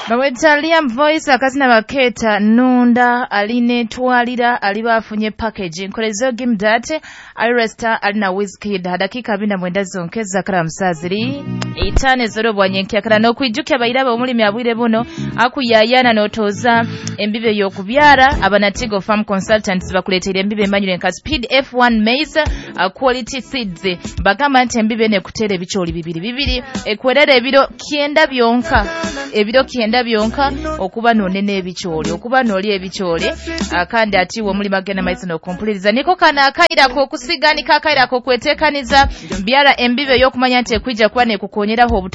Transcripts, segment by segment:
Baweta Liam Voice akazina baketa Nunda aline twalira aliba afunye package nkolezo give that Aresta alina Wizkid dakika 29 zonkeza kala musaziri itane zoro bwanyenkia kala nokwijukia bairaba omulimi abwire buno akuyayana notoza embibe yokubyara abanatigo farm consultants bakuleteire embibe emanyire nka Speed F1 maize quality seeds bagamba nti embibe ne kutere ebicholi bibiri bibiri ekwerere ebiro 9 byonka ebiro 9 byonka okuba nonene ebicholi okuba noli ebicholi kandi ati wo mulima gena maize no kompuliriza niko kana akaira ko kusiganika akaira ko kwetekaniza byara embibe yokumanya nti ekwija kuba ne kukonyeraho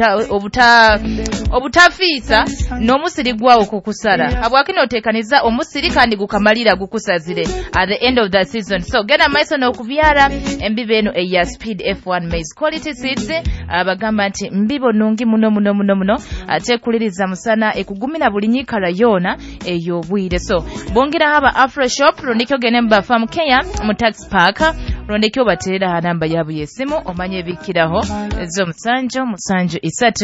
obutafiisa n'omusiri gwawo kukusara habwakino otekaniza omusiri kandi gukamalira gukusazire at the end of the season. So gena maiso n'okubyara embibe eno eya Speed F1 maize quality seeds abagamba nti mbibo nungi muno muno muno muno ate kuliriza musana ekugumira buli nyikara yona ey'obwire. So bongera haba Afro Shop rondikyo gene mba farm Kenya mu tax park rondikyo baterera ha namba yabo y'essimu omanye ebikiraho zo 7 7 3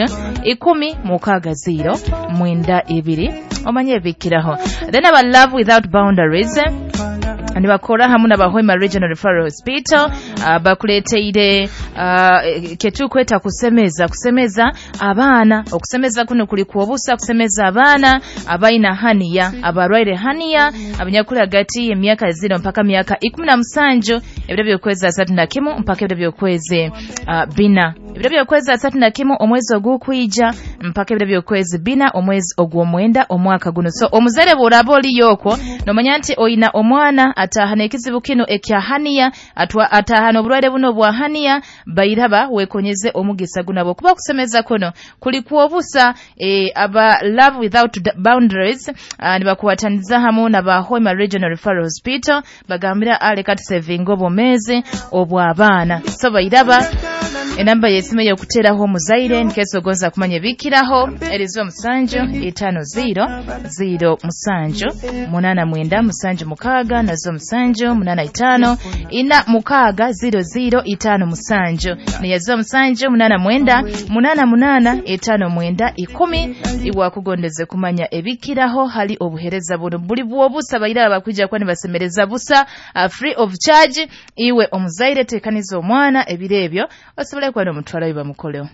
10 6 0 92 omanye ebikiraho. Then aba Love Without Boundaries nibakora hamwe n'Abahwema Regional Referral Hospital bakuleteire ketukweta kusemeza abaana. Okusemeza kuno kuli kuobusa kusemeza abaana abaina hania abarwaire hania abanyakuli hagati emyaka 0 mpaka myaka 17 ebiro byokwezi 31 mpaka ebiro byokwezi 4 ebiro byokwezi 31 omwezi ogukwija mpaka ebiro byokwezi 4 omwezi ogw'omwenda omwaka guno. So omuzere bw'oraba oliyokwo nomanya nti oyina omwana atahana ekizibu kino ekya hania atahana obulwaire buno bwa hania bairaba wekonyeze omugisa gunabo kuba kusemeza kuno kuli kuobusa aba Love Without Boundaries nibakuwataniza hamu na ba Hoima Regional Referral Hospital bagambira ale kati saving obomezi obw'abaana. So bairaba enamba y'essimu y'okuteraho omuzaire nkeso ogonza kumanya ebikiraho erizo 7 5 0 0 7 8 9 7 6 nazo 7 8 5 4 6 0 0 5 7 niyazo 7 8 9 8 8 5 9 10 iwakugondeze kumanya ebikiraho hali obuhereza buno buli bwobusa bairaba bakwija kuba nibasemereza busa free of charge. Iwe omuzaire tekaniza omwana ebiro ebyo osobole kuba n'omutwala we bamukoleho.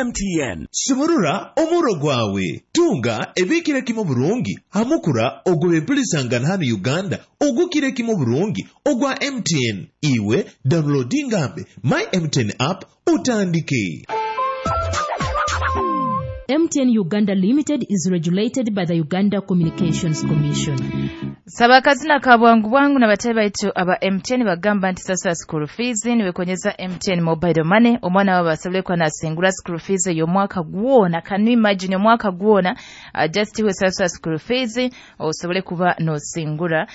MTN sumurura omuro gwawe tunga ebikire kimo burungi hamukura ogwe empulisangana hano Uganda ogukire kimo burungi ogwa MTN. Iwe downloadingambe my MTN app utandike. MTN Uganda Limited is regulated by the Uganda Communications Commission. Sabakazina ka bwangu bwangu na batayi baitu aba MTN bagamba nti sasa school fees niwekonyeza MTN mobile money omwana wabo asobole kuba nasingura school fees y'omwaka gwona. Can you imagine omwaka gwona just iwe sasa school fees osobole kuba nosingura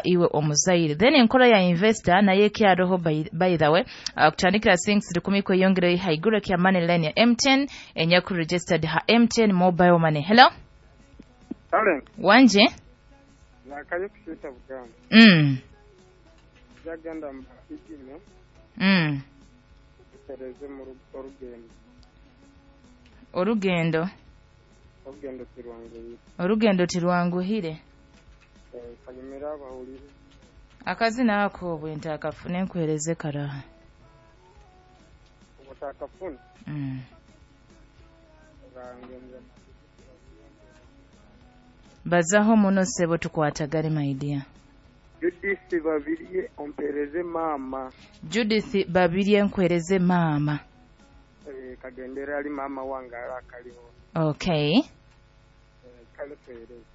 iwe omuzaire. Then enkola ya investor naye kyaroho by the way kutandikira 6 kweyongera haiguru kya money line ya MTN enyaku registered ha MTN mobile money. Hello. Hello. Wanje nakaye kushita Buganda. Jagenda mbigime. Tereze mu rugendo. Orugendo. Orugendo tirwanguhire. Orugendo tirwanguhire. Kanyumira abahulire. Akazina ako bwenta akafune nkuhereze karaha. Otakafuna. Bazaho muno sebo tukwatagale my dear. Judith Babirye ompereze mama. Judith Babirye nkwereze mama. Kagendera ali mama wange ala akaliho. Okay. Kale kwereze.